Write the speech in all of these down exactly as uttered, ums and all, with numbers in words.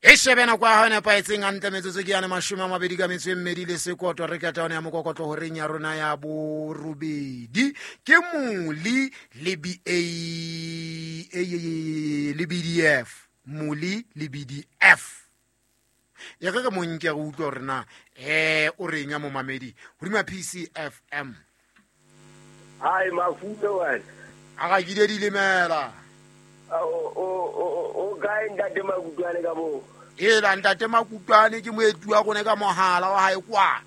E shebe nako ya hao e nepahetseng hantle metsotso ke yane mashome a mabedi ka metso e mmedi le sekoto re keta yone ya mokokotlo horeng ya rona ya borobedi ke Moli le B A A le B D F Moli le B D F e re re mo nke re utlwe hore na eh o reng ya momamedi hodima P C F M. Hai mafume wena a ga ke di lemela o o o kae ntate Makutwane ka moo? Ela ntate Makutwane ke moeti wa rona ka mohala wa hae kwa.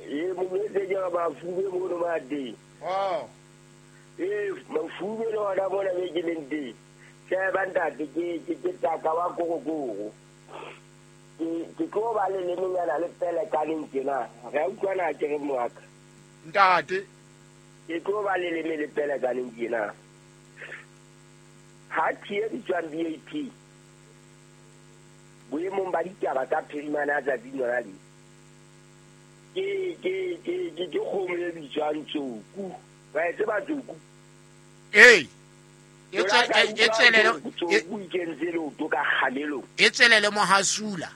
E mo jwetse ke re mafume mono mateng. Oh. E mafume le ona mona be ke leng teng. Sheba ntate ke ke ke taka wa korokoro. Ke ke tlo ba le lemenyana le pele ka leng tjena. Re a utlwana ke re moaka. Ntate ke tlo ba le leme le pele ka leng tjena. Ha tie bitswang B A P boemong ba ditaba tsa phirimana ya tsatsi lona le ke ke ke ke ke kgomo e bitswang tsoku. Wa e tseba tsoku? Ee. E tswelele tsoku e kentse leoto ka kgamelong. E tswelele mohasula.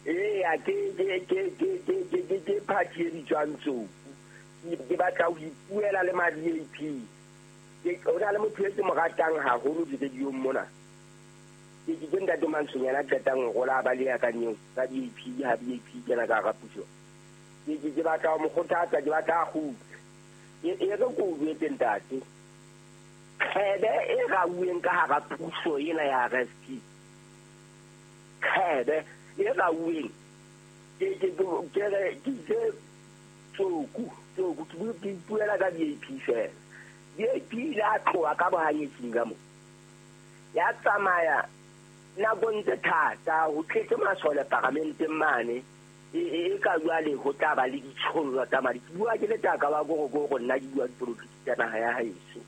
Ee, a ke ke ke ke ke ke ke ke party e bitswang tsoku. Ke batla ho ipuela le ma B A P. Ke o na le motho e ke mo ratang haholo di-radio-ong mona. Ke ke ntate Mantshonyana a qetang ho rola ba le ya ka nyeo ka B A P ha B A P kena ka hara puso. Ke ke ke batla ho mo kgothatsa, ke batla a kgutle. E e re ko o jwetse ntate. Kgebe e rauweng ka hara puso ena ya R S P. Kgebe e rauweng. Ke ke ke re ke itse tsoku, tsoku ke bue ke ipuela ka B A P fela. B A P ile a tloha ka bohanyetsing ka moo. Ya tsamaya nakong tse thata ho tletse masole paramenteng mane. E e ka jwale ho tla ba le ditshollo tsa madi. Ke bua ke le taka wa korokoro nna ke bua dipolotiki tsa naha ya haeso.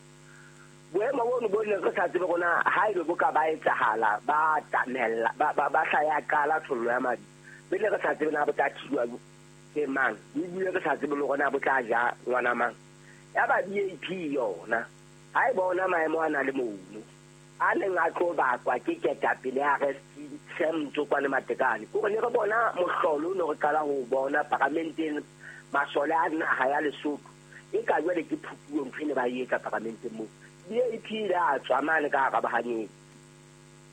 Boemo bono bo ne re sa tsebe rona ha ebe bo ka ba etsahala ba tamella ba ba ba hla ya qala tshollo ya madi. Pele re sa tsebe na bo tla thijwa ke mang. Ebile re sa tsebe le rona bo tla ja ngwana mang. Ya ba B A P yona ha e bona maemo a na le mono a neng a tlo bakwa ke ketapele ya R S P Sam Tsokwane Matekane. Kore ne re bona mohlolo o ne re qala ho bona paramenteng masole a naha ya Lesotho e ka jwale ke phupuo ntho e ne ba e etsa paramenteng moo. B A P ile a tswa mane ka hara bahanyetsi.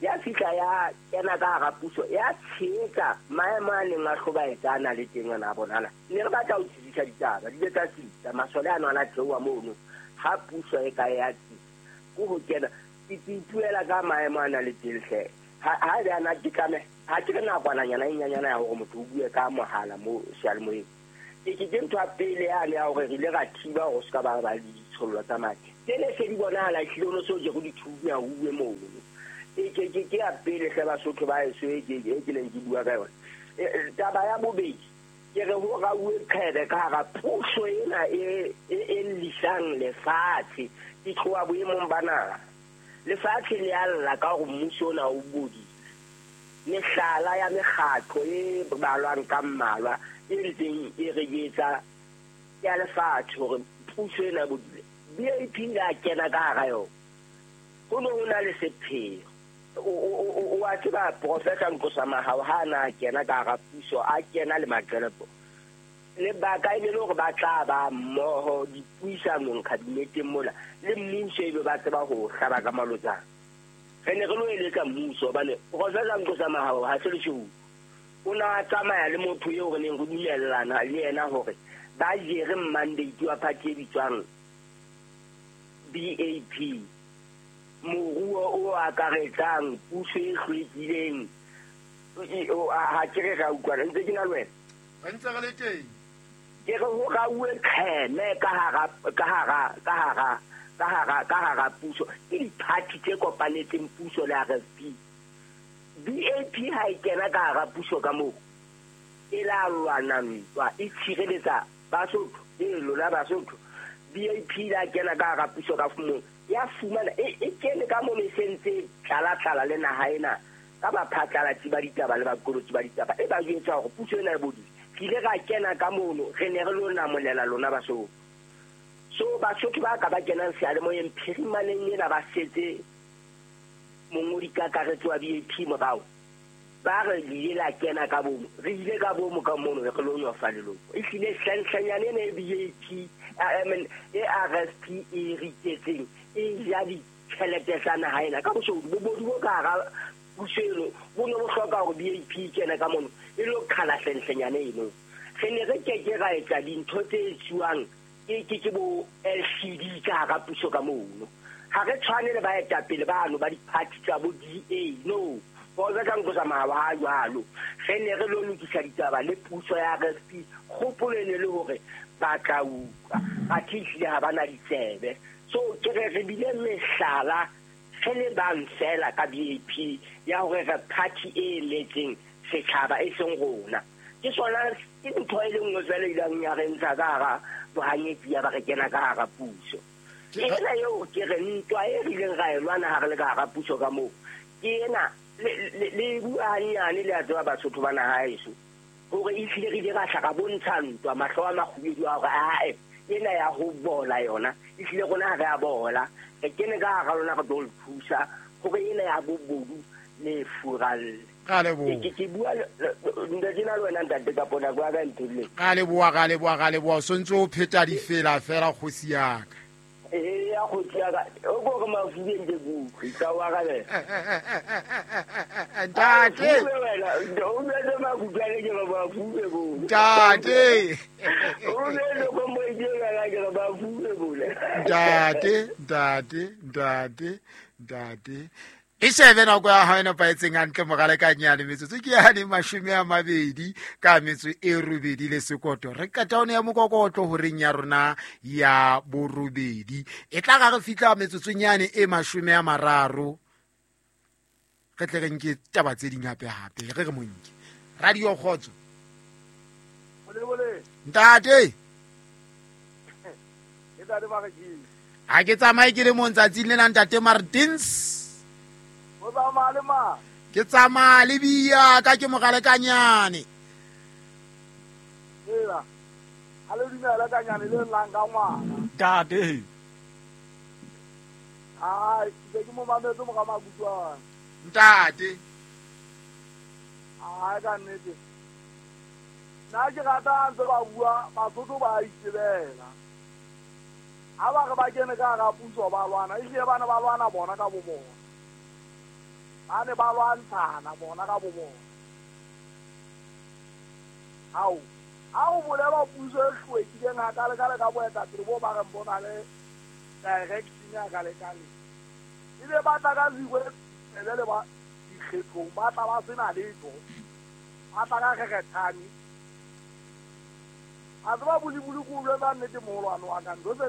Ya fihla ya kena ka hara puso ya tshehetsa maemo a neng a hlobaetsa a na le teng ana a bonahala. Ne re batla ho tsitsisa ditaba di ile tsa tsitsa masole ano a na theoha mono ha puso e ka ya tsitsa ko ho kena ke ipuela ka maemo a na le teng hle. Ha ha ebe ana ke tlameha ha ke re nakwananyana e nyenyana ya hore motho o bue ka mohala mo seyalemoyeng. Ke ke ke ntho ya pele yane ya hore re ile ra thiba hore se ka ba ba le ditshollo tsa madi. Tsene se di bonahala ehlile o no so jere dithunya ho uwe mono. E ke ke ke ya pele hle Basotho ba heso e ke e ke neng ke bua ka yona. Taba ya bobedi ke re ho rauwe qhebe ka hara puso ena e e e lisang lefatshe e tloha boemong ba naha. Lefatshe le a lla ka hore mmuso ona o bodile. Mehlala ya mekgatlo e balwang ka mmalwa e ntseng e re etsa ya lefatshe hore puso ena e bodile. B A P ile a kena ka hara yona. Ho no ho na le sepheo. O o a tseba Professor Nkosa Mahao ha na kena ka hara puso a kena le Maqelepo. Lebaka e ne le hore ba tla ba mmoho dipuisanong kabineteng mola le mmuso ebe ba tseba ho hlaba ka malotsana. Re ne re lo eletsa mmuso hobane Professor Nkosa Mahao ha se leshodu. O na a tsamaya le motho eo re neng re dumellana le yena hore ba jere mandate wa party e bitswang B A P. Moruo o akaretsang puso e hlwekileng. Ha ke re ra utlwana ntse ke na le wena. Re ntse re le teng. Ke re ho rauwe qheme ka hara ka hara ka hara ka hara ka hara puso. Ke di-party tse kopanetseng puso le R S P. B A P ha e kena ka hara puso ka moo e la lwana ntwa e tshireletsa Basotho e lona Basotho. B A P la kena ka hara puso ka moo ya fumana e e kene ka mono e sentse tlala-tlala le naha ena ka baphatlalatsi ba ditaba le baqolotsi ba ditaba e ba jwetsa hore puso ena e bodile. Re ile ra kena ka mono re ne re lo namolela lona Basotho. So Basotho ba ka ba kenang seyalemoyeng phirimaneng ena ba setse mongodi kakaretso wa B A P morao. Ba re le ile la kena ka bomo, re ile ka bomo ka mono re lo nyofa leloko. E hlile hlenhlenyane ena e B A P, I mean e R S P e re iketseng e ja ditjhelete tsa naha ena ka boshodu bobodu bo ka hara puso eno bo ne bo hloka hore B A P e kene ka mono e lo qhala hlenhlenyane eno. Re ne re keke ra etsa dintho tse etsuwang ke ke ke bo L C D ka hara puso ka mono. Ha re tshwane le baetapele bano ba di-party tsa bo D A, no. Boza ka nko tsamaya ha jwalo. Re ne re lo lokisa ditaba le puso ya R S P, kgopolo e ne le hore ba tla utlwa, athe ehlile ha ba na ditsebe. So ke re re bile mehlala re le bang fela ka B A P ya hore re party e emetseng setjhaba e seng rona. Ke sona ke ntho e le nngwe fela e ileng ya re ntsha ka hara bohanyetsi ya ba re kena ka hara puso. Ena eo ke re ntwa e re ileng ra e lwana ha re le ka hara puso ka moo, ke ena le le bua hanyane le a tseba Basotho ba naha heso hore ehlile re ile ra hla ra bontsha ntwa mahlo a makgubedu a hore ae ena ya ho bola yona ehlile rona ha re a bola, re kene ka hara lona re tlo le thusa hore ena ya bobodu le furalle. Ka leboha. Ke ke bua ntate na le wena ntate ka pona kwa ka nthole. Ka leboha, ka leboha, ka leboha. O sontse o pheta difela fela kgosi ya ka. Eh ya kgosi ya ka o go re mafubeng ke kutlwe ka wa ka le. Ntate. O betse makutlwane ke re mafube bo. Ntate. O betse go mo ke ke re mafube bo. Ntate, ntate, ntate, ntate. E shebe nako ya hao e nepahetseng hantle morale ka nyane metsotso ke yane mashome a mabedi ka metso e robedi le sekoto. Re qeta one ya mokokotlo horeng ya rona ya borobedi. E tla ga re fihla metsotsong yane e mashome a mararo. Re tle re nke taba tse ding hape hape. Re re monke. Radio Kgotso. Ntate. Ha ke tsamaye ke le mong tsatsing lena ntate Martins. Ke tsamaya le bia ka ke mogale ka nyane. Ela. A le dumela ka nyane le llang ka ngwana. Ntate. Ai, ke ke mo mametse mo ka makutlwana. Ntate. Ai ka nnete. Nna ke rata ntse ba bua Basotho ba itebela. Ha ba re ba kene ka hara puso ba lwana, ehlile bana ba lwana bona ka bo bona. Ba ne ba lwantshana bona ka bo bona. Ao, ha o bolela puso e hlwekileng hakale-kale ka boetapele bo ba reng bo na le direction ya kale-kale. Ebe ba tla ka zikwe le ba dikgethong, ba tla ba sena letho. Ba tla ka kgekgethane. A tseba bolibuli ko jwetsa nnete moholwane wa ka, ntho tse